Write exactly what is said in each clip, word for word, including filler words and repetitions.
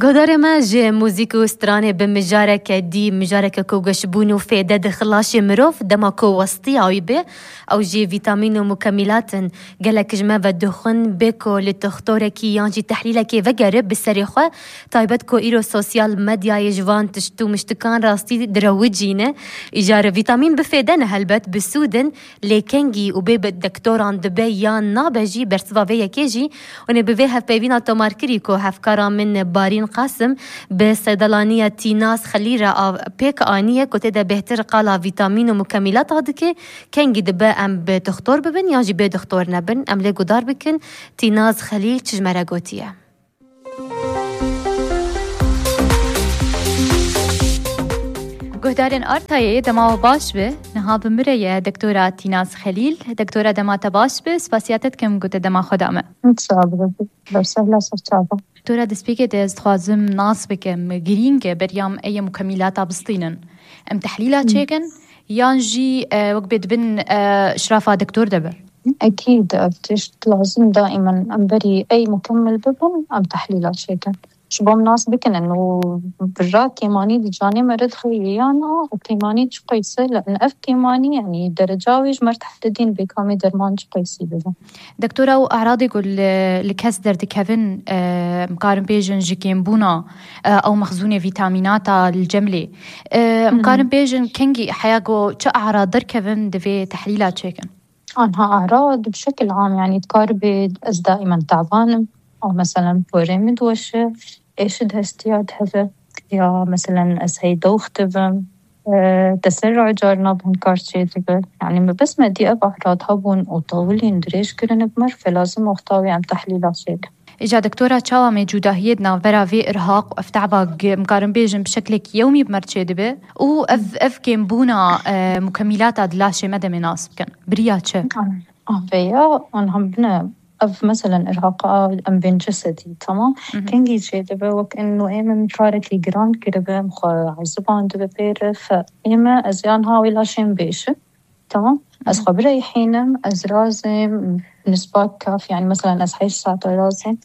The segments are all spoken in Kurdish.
Guhdarê me ji muzîk û stranê bi mijareke dî, mijareke ku geşbûn û fêde dixi laşê mirov, dema ku westiya wî bê, ew jî vîtamîn û mukemîlat in. Gelek ji me vedixwin bê ku li toxtorekî yan jî tehlîlekê vegere bi serê xwe, taybet ku îro sosyal medyayê ji van tişt û miştikan rastî direwicîne. Îcar vîtamîn bi fêde ne, helbet bi sûd in, lê kengî û bê bi dektoran dibe yan nabe jî, bersiva vê yekê jî hûn ê bi vê hevpeyvîna tomarkirî ku hevkara min Barîn Qasim bi seydelaniya Tînaz Xelîl re av-, pêk aniye ku tê de bêhtir qala vîtamîn û mukemîlata dike, kengî dibe em bi dixtor bibin yan jî bê dixtor nebin. Em lê guhdar bikin Tînaz Xelîl çi ji me re gotiye. Guhdarên Artayê, dema we baş be. Niha bi min re ye Doktora Tînaz Xelîl. Doktora, dema te baş be, spasiya te dikim ku te dema xwe da me. Sağ ol, bersiva ser çava. Doktora, destpêkê de ez dixwazim nas bikim, girîng e beriya em ê mukemîlata bistînin. Em tehlîla çêkin, yan jî, e, wek bê dibin, e, şirafa doktor de be? Ekîd, ev tişt lazim daimen em berî ey mukemmel bibin, em tehlîla çêkin. Ji bo em nas bikin û birra kêmanî di canê me re dixî yan a û kêmanî çi qeys e, li ev kêmanî, yanî dereca wê ji me re tehdidîn bê kamê derman çi qeysî bibe. Doktora, û eradê ku li, li kes derdikevin, e, em karin bêjin ji kêmbûna, e, ew mexzûnê vîtamînata li cem lê. E, em Hı hı. karin bêjin kengî heya ku çi erad derkevin divê tehlîla çêkin? Anha erad bi şekil am, yanî dikar bê ez daimen taban im, ew meselen porê min diweşe, êşid hestiya diheve, ya meselen ez hey dox dibim, e, teserruh carna bi hin kar çêdibe. Yanî me bes me dî ev erad hebûn û tawilîn dirêj kirine bi me re, fe lazim wexta wê em tehlîla çêkin. Îca doktora, çawa me cudahiyê di navbera vê irhaq û ev te'ba, em karin bêjin bi şeklekî yewmî bi me re çêdibe û ev, ev kêmbûna, e, mukemîlata di laşê me de me nas bikin? Biriya çi? Ah, vêya, an hem bine, ev meselen irhaqa em bên cesedî, tamam? Hı hı. Kengî çêdibe, wek eno ê me min karekî giran kiribe, em xwe ezibandibe pê re, fe ê me, ez yan ha wê laşê min bêşim. Tamam. Ez Hı. xwe bireyhînim, ez razêm, nisba kaf, yani mesela ez heşt saeta razêm.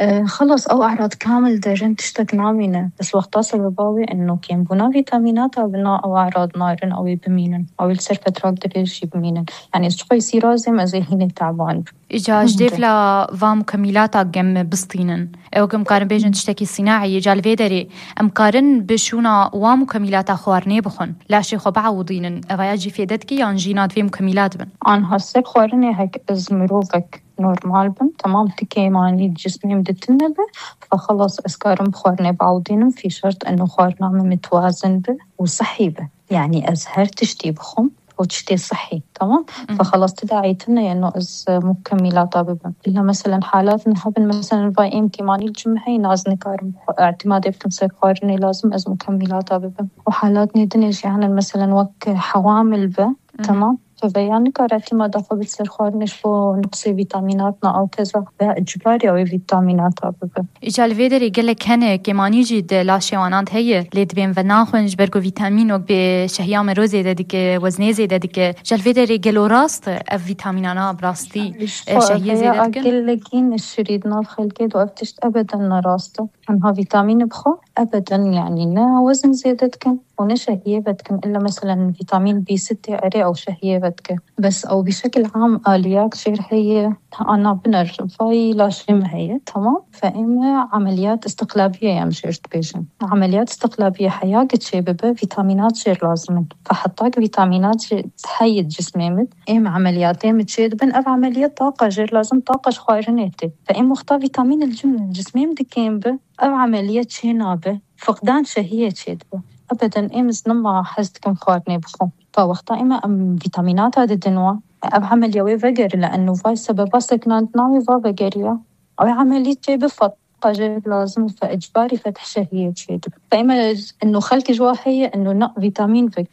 E, xelas, ew e'rad kamil derin, tiştek namîne. Bes wexta sebeba wê eno kêmbûna vîtamînata bina ew e'rad narin, ew ê bimînin. Ew ê li ser fetrak dirêj jî bimînin. Yani ez çiqasî razêm, ez ê hînê teban bim. Îca ji Hı. dêvla va mukemîlata gem bistînin. Ew em karin bêjin tiştekî sînaî ye, îca li vê derê em karin bi şûna wa mukemîlata xwarinê bixwin, laşê xwe biewidînin, evaya jî fêde dike yan jî na divê mukemîlat bin? Anha ser xwarinê hek ez mirovek normal bim, temam ti kêmanî cismê min di tune be, fe xelas ez karim bi xwarinê biewidînim, fî şert eno xwarina min mitwazin be û sihî be. Yani ez her tiştî bixwim, û tiştê sihî, tamam? Mhm. Fe xelas ti daîtine yeno ez, e, mukemîlata bibim. Îlla meselen halat niha bin, meselen vay êm kêmanî li cim heye, naz nikarim xwe, îtîmadê bikim ser xwarinê, lazim ez mukemîlata bibim. Û halatnê dinê jî hene, meselen wek hewamil be, Mhm. tamam? Fe veya nikare îtîmada xwe bid ser xwarinê ji bo nuqsê vîtamînat na ew keza veya icbarî ew ê vîtamînata bibe. Îca li vê derê gelek hene, kêmanî jî di laşê wanan de heye, lê dibên venaxwin, ji ber ku vîtamîn wek bê şehiya mero zêde dike, weznê zêde dike. Îca li vê derê gelo rast e ev vîtamînana bi rastî, e, şehiyê zêde dikin? Gelekî neşirî di nav xelkê de ev tişt ebeden ne rast e. Tenha vîtamîn bixwe ebeden, yanî ne wezin zêde dikin û ne şehiyê vedikin. Îlla meselen vîtamîn B sî tê erê ew şehiyê vedike. Bes ew bi şekil am aliyat jêr heye, ana biner vay laşê me heye, tamam. Fe ê me emeliyat istiqlabiye em jêr dibêjin. Emeliyat istiqlabiye heya ki çê bibe, vîtamînat jêr lazim in. Fe heta ki vîtamînat jê heye cismê min, ê me emeliyatê min çê dibin, ev emeliyat taqa jêr lazim, taqa ji xwarinê tê. Fe ê wexta vîtamîn li cim-, cismê min dikêm bi, ev emeliyat çê nabe, fiqdan şehiyê çê dibe. Ebeden ê min ez nema hez dikim xwarinê bixwim. Fa wexta ê me em vîtamînata didin wan. Ev emeliya wê vegeri li eno vay sebeba seknandina wê va vegeriya. Ew emelî çê bi fetqa jê lazim fe icbarî fetih şehiyê çê dibe. Fe ê me eno xelkê ji wa heye eno na vîtamîn vek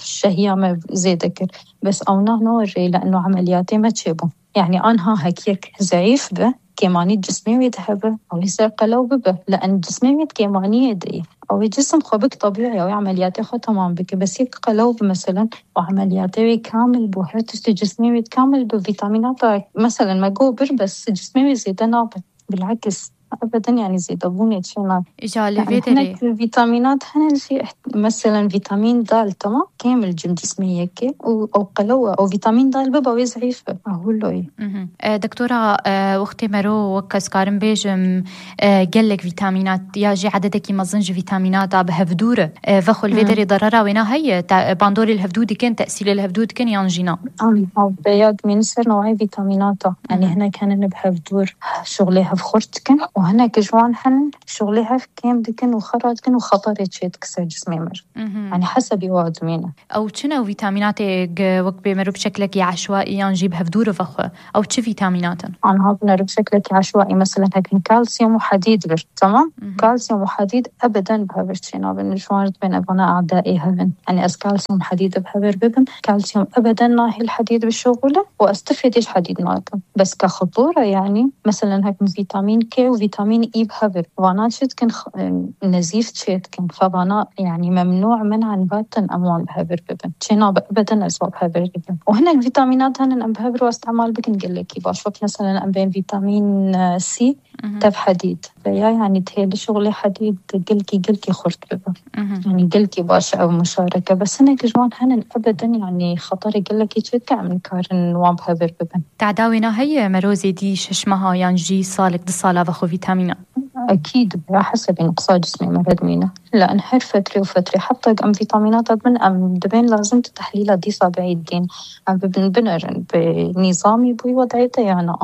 şehiya me zêde kir. Bes ew na no rê li eno emeliyatê me çê bû. Yani anha hek yek zeîf bi, kêmanî cismê wê dihebe, ew ê ser qelew bibe. Li en cismê wê di kêmaniyê de ye. Ew ê cisim xwe bik tebîî, ew ê emeliyatê xwe temam bike. Bes yek qelew bi, meselen, û emeliyatê wê kamil bû, her tiştê cismê wê kamil bi, vîtamînata, meselen, me got bir, bes cismê wê zêde nabe. Bilakis, Ebeden, yani zêdebûnê çêna. Îca li vê derê. Hinek vîtamînat hene jî, mesela vîtamîn D, tamam, kêm li cim cismê yekê û ew qelew e. Ew vîtamîn D biba wê zehîf e. Ahuloyî. E, doktora, e, wextê mero wek ez karim bêjim, e, gelek vîtamînat ya jî ededekî mezin ji vîtamînata bi hevdûr e. E, vexwe li vê derê darara wêna heye, bandorê li hevdû dikin, tesîrê li hevdû dikin yan jî na? An, ha, ya dimînin ser newayê vîtamînata. Yani hinek hene bi hevdûr şuxlê hev xurt dikin û hinek ji wan hene şuxlê hev kêm dikin û xera dikin û xeterê çê dike ser cismê me. Yani hesebî wa dimîne. Ew çi ne vîtamînatê wek bê mero bi şeklekî eşwaî yan jî bi hevdûr vexwe? Ew çi vîtamînat in? Anha binêre bi şeklekî eşwaî, mesela hekin kalsiyum û hedîd bir, tamam? Kalsiyum û hedîd ebeden bi hevir çênabin. Ji wan re dibên evana adaê hevin. Yani ez kalsiyum hedîd bi hevir bibim. Kalsiyum ebeden nahêl hedîd bişuxule û ez tifêdê ji hedîd nakim. Bes ka xitûre yani, mesela hekin vîtamîn K û vîtamîn E bi hevir. Vana çi dikin, nezîf çê dikin. Xwe vana yani memnû, men'an batin em wan bi hevir bibin. Çênabe ebeden ez wan bi hevir bibim. Û hinek vîtamînat hene em bi hevir wan îstemal bikin gelekî baş. Wek mesela em bên vîtamîn, e, C, tev hedîd. Veya yani têli şuxlê hedîd gelkî, gelkî xurt bibe. Yani gelkî baş e ev muşareke. Bes hinek ji wan hene ebeden yani xeterê gelekî çê dike em nikarin wan bi hevir bibin. Teda wêna heye mero zêdî şeş meha yan jî salek du sala vexwe vîtamînan? Ekîd, ya hesebî nuqsa cismê me re dimîne. Li her fetrê û fetrê, heta em vîtamînata dibin, em dibên lazim tu tehlîla dîsa biîdîn. Em bibin binerin bi nîzamî bûyî wedayê te ya na.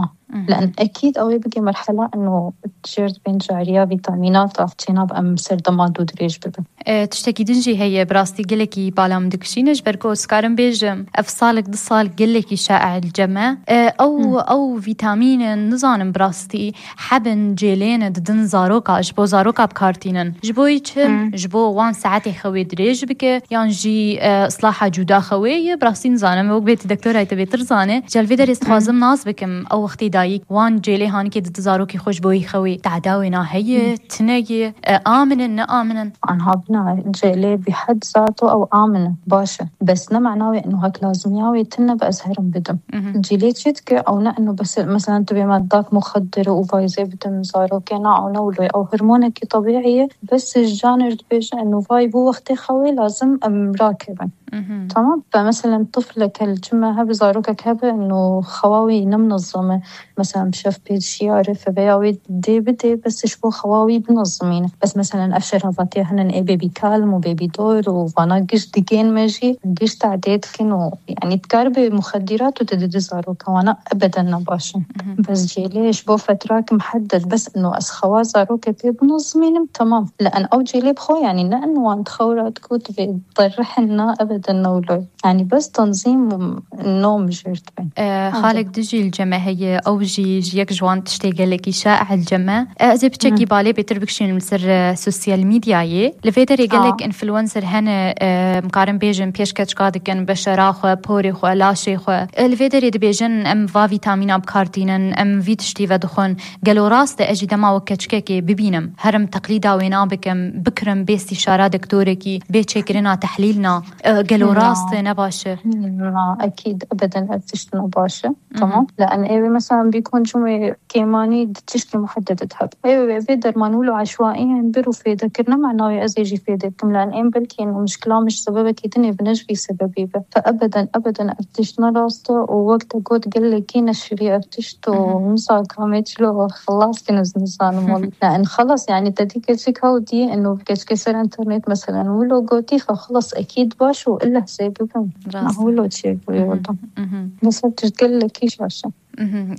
Li en ekîd ew ê bigê merhela eno jêr dibên cariya vîtamînata çênabe em serdema dû dirêj bibin. E, tiştekî din jî heye, bi rastî gelekî bala min dikişîne, ji ber ku ez karim bêjim, ev salek du sal gelekî şaî li cem e. E, ew, ew vîtamînin, nizanim bi rastî hebin cêlê ne didin zaroka, ji bo zaroka bi kar tînin. Ji bo yî çi? Ji bo wan saetê xewê dirêj bike, yan jî, e, islaha cuda xewê ye, bi rastî nizanim. Wek bê tu doktorayê te bêtir zane. Ji li vê derê ez dixwazim nas bikim, ew wextê dayîk wan cêlê hanikê didin zarokê xwe ji bo yî xewê. Teda wêna heye, tune ye, e, aminin, ne aminin? Anha bina cêlê bi hed zato ew amin e, baş e. Bes ne mena wê eno hek lazimiya wê tune be ez herim bidim. Cêlê çi dike? Ew ne eno bes, mesela tu bê me dak muxedir û vayzê bidim zarokê, na, ew ne wilo ye. Ew hormonekî tebîî ye. Bes ji canê re dibêje eno vay bû wextê xewê lazim em rakevin. Tamam. Fe mesela tifleke li cim me hebe, zarokek hebe eno xewa wî ne minezim e. Mesela bi şev pê dişiyare, fe veya wê dê bidê, bes ji bo xewa wî binizimîne. Bes mesela ev şerabatê hene ê bêbî kalm û bêbî dor û vana giş digên me jî, giş tadê dikin û yani dikar bi muxedîrat û te didi zaroka, wana ebeden ne baş in. Bes cêlê ji bo fetrak muhedded, bes ino ez xewa zaroke pê binizimînim, tamam. Li en ew cêlê bi xwe yani ne in wan dixewra diku tu vê derrihin na ebeden ne wilo. Yani bes tenzîm û nom jêr dibin. E, xalek dijî li cem me heye, ew jî ji yek ji wan tiştê gelekî şaî li cem me. E, ez ê piçekî balê bêtir bikişînim li ser, e, sosyal medyayê. Li vê derê gelek influencer hene, e, em karin bêjin pêşkeçka dikin beşera xwe, porê xwe, laşê xwe. E, li vê derê dibêjin em va vîtamîna bi kar tînin, em vî tiştî vedixwin. Gelo rast e ez jî dema wek keçikekê bibînim, herim teqlîda wêna bikim, bikirim bê stîşara doktorekî, bê çêkirina tehlîl na? E, gelo rast e, ne baş e? Na, ekîd, ebeden ev tişt ne baş e. Tamam. Li en êvê mesela bî koncumê kêmanî di tişkî muhedded hebe. Ê, vê derman wilo eşwaî yên bir û fêde kir, ne mena wê ez ê jî fêde bikim. Li en êm belkî ên mişkila min ji sebebekî din ê bi ne ji vî sebebî be. Fe ebeden, ebeden ev tişt ne rast e û wek te got gelekî neşirî ev tişt û mizaka me çilo xilas kin ez nizanim wele. Ne, en xelas, yani te dî keçik hew dî, eno keçikê ser internet, meselen, wilo gotî, xwe xelas, ekîd baş û ille hesê bibim. Rast e. Wilo çêbûye wilo. Mesela tişt gelekî şaş e.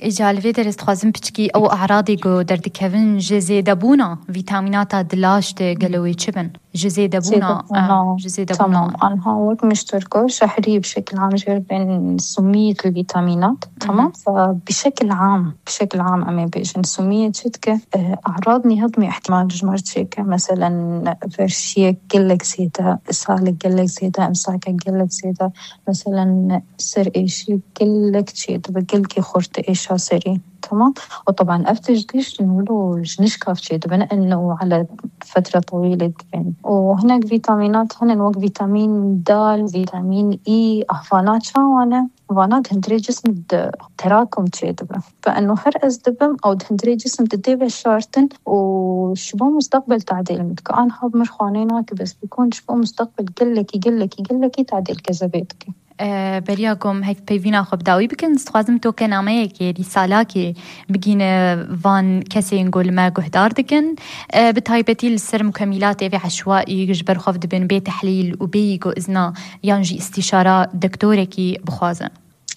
Îca li vê derê ez dixwazim piçkî ew eradê ku derdikevin ji zêdebûna vîtamînata di laş de gelo wê çi bin? Ji zêdebûna, zêdebûna, ah, ji zêdebûna. Tamam. Anha wek min ji te re got, şehrî bi şekil am jê re bên sumiyet li vîtamînat. Tamam. Fe bi şekil am, bi şekil am em ê bêjin. Sumiyet çi dike? E, e'rad nîhadmî ihtimal ji me re çêke. Meselen, verşiyek gelek zêde, ishalek gelek zêde, imsakek gelek zêde. Meselen, ser êşî gelek çêdibe, gelkî xurt êşa serî. Tamam. Û teban ev tişt giş wilo ji nişka çêdibin, eno ele fetre tewîlê dibin. Û hinek vîtamînat hene wek vîtamîn D, vîtamîn E, ahvana çawa ne? Vana di hundirê cism de terakum çêdibe. Bi eno her ez dibim, ew di hundirê cism de tê veşartin û ji bo mustaqbel tadêl min dike. Anha bi mir xwanê nake, bes bikon ji bo mustaqbel gelekî, gelekî, gelekî tadêl kezebê dike. E, beriya ku em hevpeyvîna xwe bi dawî bikin, ez dixwazim to ke nameyekê, rîsalakê bigîne van kesên ku li me guhdar dikin. E, bi taybetî li ser mukemîlatê vê eşwaî ji ber xwe dibin bê tehlîl û bêyî ku izna yan jî îstîşara doktorekî bixwazin.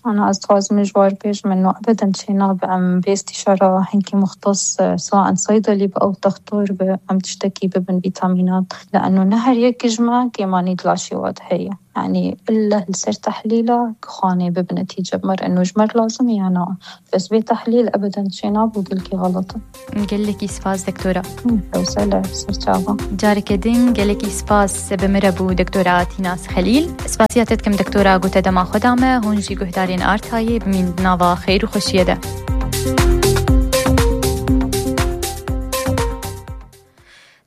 Ana ez dixwazim ji war pêş min no ebeden çênabe em bê îstîşara hinkî muxtas, e, saen saydelî bi ew textor bi em tiştekî bibin vîtamînan. Li eno ne her yek ji me kêmanî di laşê we de heye. Yanî ille li ser tehlîla ki xanê bibi netîce bi me re eno ji me re lazim e ya na. Bes vê tehlîl ebeden çênabû gelkî xelet e. Gelekî spas, doktora. Hı, Rewsele, ser çava. Careke din gelekî spas bi min re bû doktora Tînas Xelîl. Spasiya te dikim doktora, gote dema xwe da me, hûn jî guhdarên Artayê bimîn di nava xêr û xweşiyê de.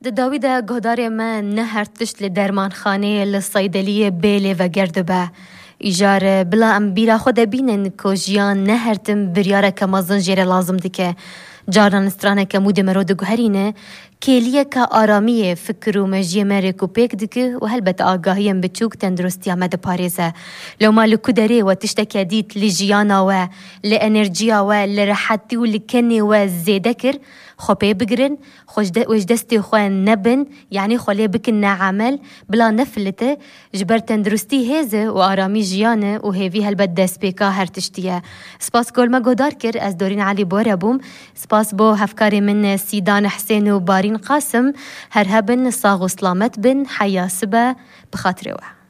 Di dawî de guhdarê me ne her tişt li dermanxaneyê, li seydeliyê bê lê veger dibe. Îcar bila em bîra xwe de bînin ku jiyan ne her tim biryareke mezin jê re lazim dike. Carnan straneke mûdê me ro diguherîne, kêliyeke aramiyê fikir û mejiyê me rêk û pêk dike û helbet agahiyên biçûk tenduristiya me diparêze. Lewma li ku derê we tişteke dît li jiyana we, li enerjiya we, li rehetî û li kenê we zêde kir, xwe pê bigirin, xwe ji de-, wê ji destê xwe nebin, yanî xwe lê bikin neamel, bila nefilite, ji ber tenduristî hêz e û aramî jiyan e û hêvî helbet destpêka her tiştî ye. Spas ku li me guhdar kir, ez Dorîn Elî bi we re bûm. Spas bo hevkarê min Sîdan Hisên û Barîn Qasim. Her hebin, sax û silamet bin, heya sibe, bi xatirê we.